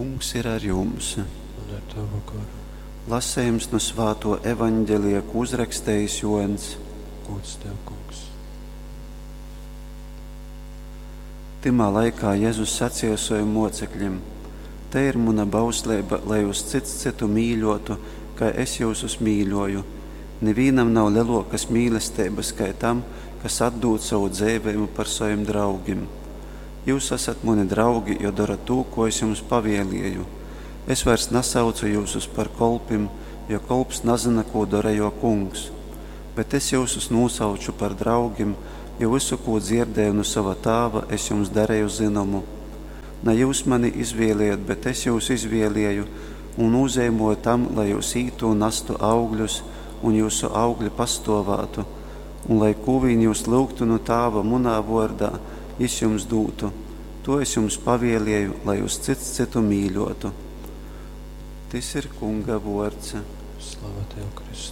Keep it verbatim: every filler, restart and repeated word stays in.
Kungs ir ar jums. Un ar tavu goru. Lasejums nu svātuo Evaņgelija, kū uzrakstejis Juoņs. Gūds tev, Kungs. Tymā laikā Jezus saceja sovim muocekļim: Te ir muna bausleiba, lai jūs cyts cytu mīļuotu, kai es jyusus mīļoju. Nivīnam nav leluokys mīlesteibys kai tam, kas atdūd sovu dzeiveibu par sovim draugim. Jyus asat muni draugi, jo dorat tū, ko es jums pavielieju. Es vairs nasaucu jyusus par kolpim, jo kolps nazyna, kū dora juo kungs. Bet es jyusus nūsauču par draugim, jo vysu, kū dzierdēju nu sova Tāva, es jums dareju zynomu. Na jyus mani izvieliejot, bet es jyus izvielieju un nūzeimoju tam, lai jyus ītu un nastu augļus, un jyusu augļi pastuovātu, un lai kū vīn jyus lyugtu nu Tāva munā vuordā, jis jums dūtu. To es jums pavielieju, lai jūs cyts cytu mīļuotu. Tys ir Kunga vuords. Slava tev, Kristu.